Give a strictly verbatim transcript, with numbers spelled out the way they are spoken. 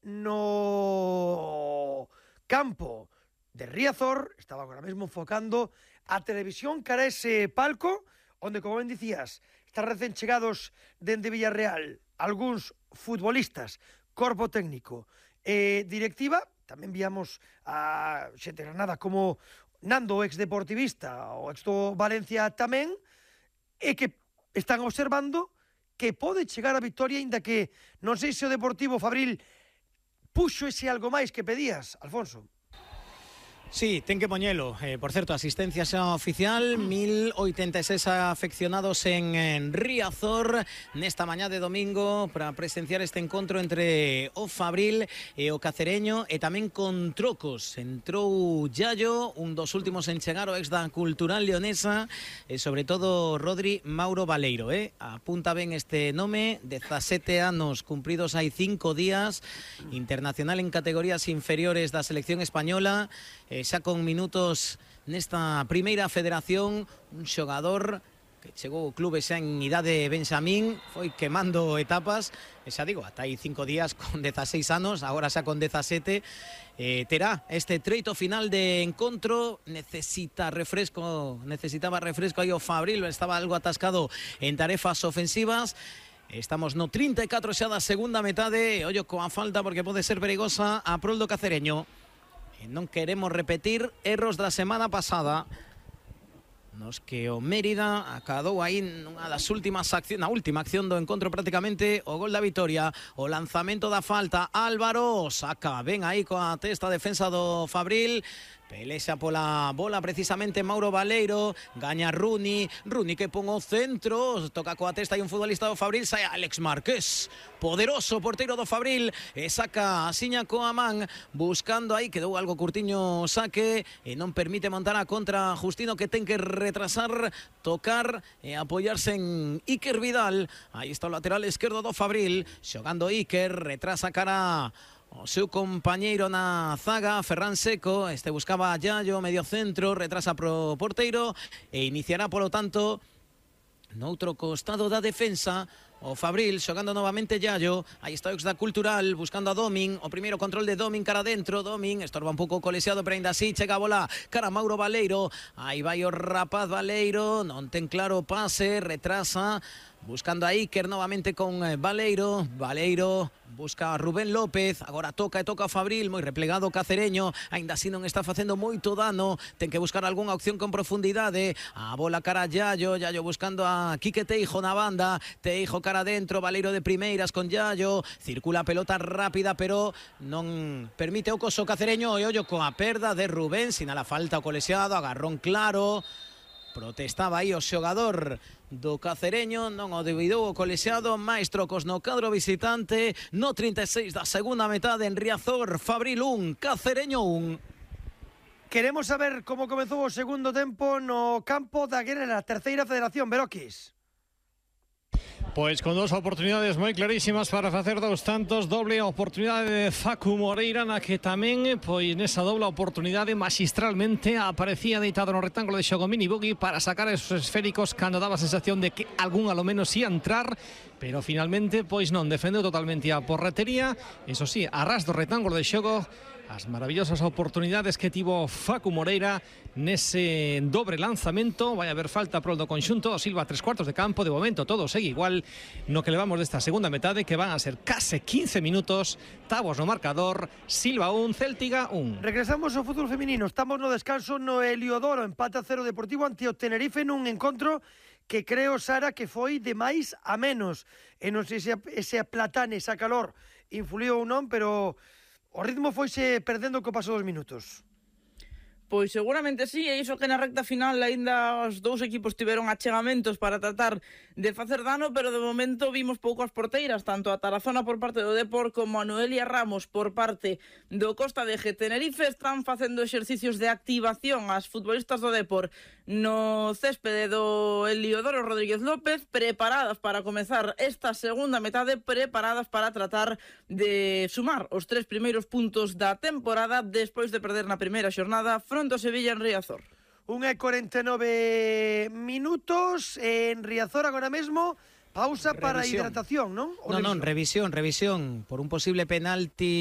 no campo de Riazor. Estaba agora mesmo enfocando a televisión cara a ese palco, onde, como ben dicías, están recén chegados dende Villarreal algúns futbolistas, corpo técnico e eh, directiva. Tamén víamos a xente de Granada como Nando, ex deportivista, o ex do Valencia tamén, e que están observando que pode chegar a victoria, inda que non sei se o Deportivo Fabril puxo ese algo máis que pedías, Alfonso. Sí, ten que poñelo. Eh, por certo, asistencia xa oficial, mil oitenta e seis afeccionados en, en Riazor nesta mañá de domingo para presenciar este encontro entre o Fabril e o Cacereño, e tamén con trocos. Entrou Yayo, un dos últimos en chegar, o ex da Cultural Leonesa, e sobre todo Rodri Mauro Baleiro, eh? Apunta ben este nome, dezasete anos cumpridos hai cinco días, internacional en categorías inferiores da selección española, eh, xa con minutos nesta primeira federación, un xogador que chegou ao clube xa en idade benxamín, foi quemando etapas, e xa digo, ata aí cinco días con dezaseis anos, agora xa con dezasete, eh, terá este treito final de encontro. Necesita refresco, necesitaba refresco aí o Fabril, estaba algo atascado en tarefas ofensivas. Estamos no trinta e catro xa da segunda metade, ollo coa falta porque pode ser perigosa a prol do Cacereño. E non queremos repetir erros da semana pasada, nos que o Mérida acadou aí nunha das últimas accións, na última acción do encontro prácticamente, o gol da vitoria, o lanzamento da falta. Álvaro saca ben aí coa testa defensa do Fabril, pelexa pola bola precisamente Mauro Baleiro, gaña Runi, Runi que pon o centro, toca coa testa e un futbolista do Fabril, sai Alex Márquez, poderoso porteiro do Fabril, e saca a siña coa man, buscando aí, quedou algo curtiño saque, e non permite montar a contra Justino, que ten que retrasar, tocar e apoiarse en Iker Vidal. Aí está o lateral esquerdo do Fabril, xogando Iker, retrasa cara o seu compañeiro na zaga, Ferran Seco. Este buscaba a Yayo, medio centro, retrasa pro porteiro e iniciará, polo tanto, noutro costado da defensa o Fabril, xogando novamente Yayo. Aí está o ex da Cultural, buscando a Domin, o primeiro control de Domin cara dentro, Domin estorba un pouco colexiado, pero ainda así chega a bola cara a Mauro Baleiro. Aí vai o rapaz Baleiro, non ten claro o pase, retrasa, buscando a Iker novamente con Baleiro. Baleiro busca a Rubén López, agora toca e toca a Fabril, moi replegado o Cacereño, aínda así non está facendo moito dano, ten que buscar algunha opción con profundidade. A bola cara a Yayo, Yayo buscando a Quique Teijo na banda, Teijo cara adentro, Baleiro de primeiras con Yayo, circula a pelota rápida, pero non permite o coso Cacereño, e ollo coa perda de Rubén, sinala falta o colexiado, agarrón claro. Protestaba aí o xogador do Cacereño, non o devidou o colexiado. Máis trocos no cadro visitante no trinta e seis da segunda metade en Riazor. Fabril un, Cacereño un. Queremos saber como comezou o segundo tempo no campo da Guerra, terceira federación, Beroquis. Pois con dos oportunidades moi clarísimas para facer dous tantos, doble oportunidade de Facu Moreira, na que tamén, pois nesa doble oportunidade, magistralmente aparecía deitado no rectángulo de xogo Mini Buggy para sacar esos esféricos cando daba a sensación de que algún alo menos ia entrar, pero finalmente, pois non, defendeu totalmente a porretería, eso sí, a ras do rectángulo de xogo, as maravillosas oportunidades que tivo Facu Moreira nese dobre lanzamento. Vai haber falta prol do conxunto o Silva, tres cuartos de campo. De momento todo segue igual no que levamos desta segunda metade, que van a ser case quince minutos. Tabos no marcador, Silva un, Céltiga un. Regresamos ao fútbol feminino, estamos no descanso no Heliodoro, empate a cero Deportivo ante o Tenerife nun encontro que creo, Sara, que foi de máis a menos, e non sei se ese platane, esa calor influiu ou non, pero o ritmo foise perdendo co paso dos minutos. Pois seguramente sí, e iso que na recta final aínda os dous equipos tiveron achegamentos para tratar de facer dano, pero de momento vimos pouco as porteiras, tanto a Tarazona por parte do Depor como a Noelia Ramos por parte do Costa de G. Tenerife están facendo exercicios de activación as futbolistas do Depor no céspede do Heliodoro Rodríguez López, preparadas para comezar esta segunda metade, preparadas para tratar de sumar os tres primeiros puntos da temporada despois de perder na primeira xornada fronte ao Sevilla en Riazor. Unha e cuarenta e nove minutos en Riazor agora mesmo. Pausa para Revisión. hidratación, non? Non, non, revisión, revisión por un posible penalti